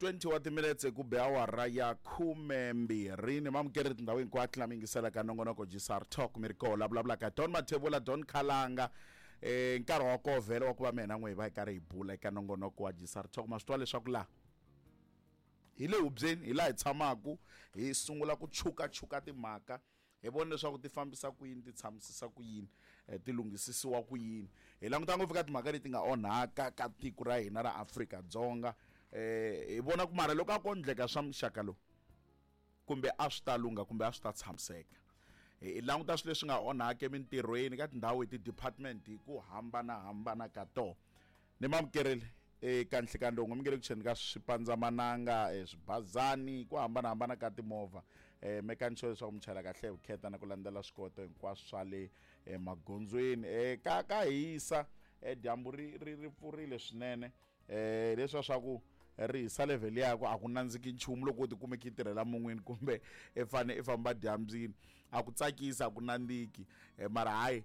20 wa timinetse ku be awara ya 12 ni mamukeri tindhawu hinkwato lama yingiselaka nongonoko gsr talk mi ri koho la vulavulaka don mathevula don khalanga nkarhi wa koho vhele wa ku va mina n'we hi va hi karhi hi bula eka nongonoko wa gsr talk ma swi tiva leswaku laha hi le hubyeni hi laha hi tshamaku hi sungula ku chukachuka timhaka hi vona leswaku ti fambisa ku yini ti tshamisisa ku yini eh, ti lunghisisiwa ku yini hi languta ngopfu ka timhaka leti nga onhaka ka tiko ra hina ra Afrika-Dzonga eh hi vona ku mara loko a ko endleka swa muxaka lowu kumbe a swi ta lungha kumbe a swi ta tshamiseka hi languta swilo leswi nga onhaka emintirhweni ka tindhawu hi ti-department hi ku hambanahambana ka tona ni mamukerile eka nhlikani lowu mi nge le ku cheni ka swipandzamananga eh, swibazani ku hambanahambana ka timovha um mekani sure leswaku mi chayela kahle hi vukheta na ku landzela swikoweto hinkwaswo swa le eh, magondzweni um ka hisa um dyambu ri ri ri pfurile swinene um leswiya swa ku ri hisa level ya ku a ku nandziki nchumu loko u tikumeke i tirhela mun'wini kumbe i fane i famba dyambyini a ku tsakisi a ku nandziki mara hayi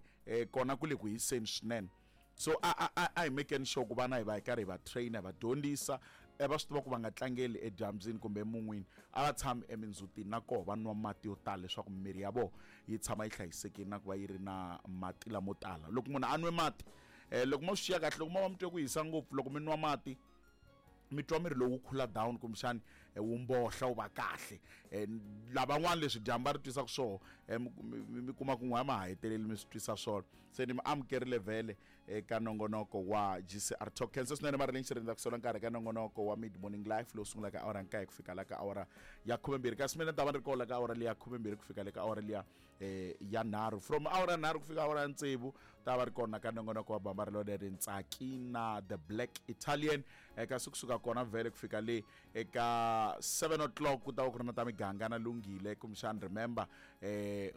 kona ku le ku hiseni swinene so a a a a hi mekeni sure ku vana hi va hi karhi hi va trainer hi va dyondzisa va swi tiva ku va nga tlangeli edyambyini kumbe emun'wini a va tshami emindzhutini na koho va nwa mati yo tala leswaku mimiri ya vona yi tshama yi hlayisekile na ku va yi ri na mati lamo tala loko munhu a nwe mati um loko mo swi xiya kahle loko mo va mi twe ku hisa ngopfu loko mi nwa mati mi twa miri lowu khula down kumbexani eh, wu mbohla wu va kahle eh, lavan'wana leswi dyambu va ri twisaka swona eh, mi kuma ku n'we ma ha heteleli mi swi twisa swona se ni mi amukerile vhele eka nongonoko wa gcr talk khensa swinene marilyn xirindza ku sola nkarhi ka nongonoko wa mid morning life lowu sungulaka awara nkaye ku fika la ka awara ya 12 kasi mina ni ta va ni ri kona ka awara liya 12 ku fika le ka awara liya ya nharhu from awara nharhu ku fika awara ya tsevu ta va ri kona ka nongonoko wa bamba ri leri ntsaki na the black italian kasi kusuka kona vhele ku fika le eka 7 o'clock ku ta va ku ri na ta miganga na lunghile kumbexani remember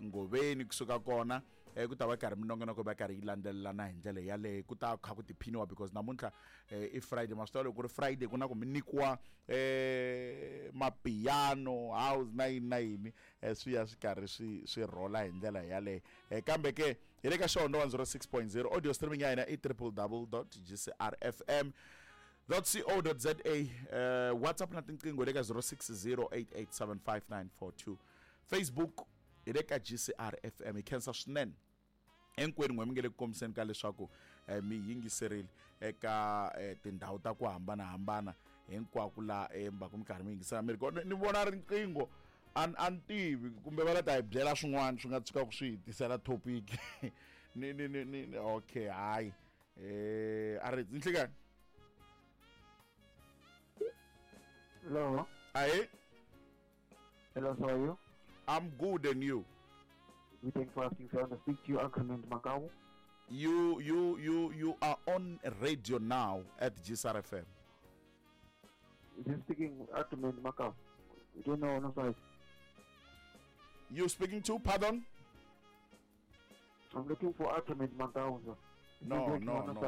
ngoveni kusuka kona ku ta va karhi minongonoko va karhi yi landzelelana hi ndlela yaleyo ku ta kha ku tiphiniwa because namuntlha i friday ma swi tiva loko ku ri friday ku na ku mi nyikiwa mapiano house na yini na yini swi ya swi karhi swi swi rhola hi ndlela yaleyo kambe ke hi le ka xihondzo 106.0 audio streaming ya hina i www gcrfm co.za whatsapp na tinqingho le ka 0608875942 facebook hi le ka gcr fm hi khensa swinene hinkwenu n'we mi nge le ku kombiseni ka leswaku mi yingiserile eka tindhawu ta ku hambanahambana hinkwako la embaku mi karhi mi yingisela mi ri kona ni vona riqingho a ni tivi kumbe va la ta hi byela swin'wana swi nga tshukaka swi hi tisela topic ni ni ni ni okay hayi a ri nhlikani Hello. Ahe. Hello, how are you? I'm good and you? We thank for asking. So I want to speak to you, Agreement Makau. You are on radio now at GCR FM. Is you speaking Agreement Makau? You don't know, no sorry. You speaking to, pardon? I'm looking for Agreement Makau, sir. No, no, no.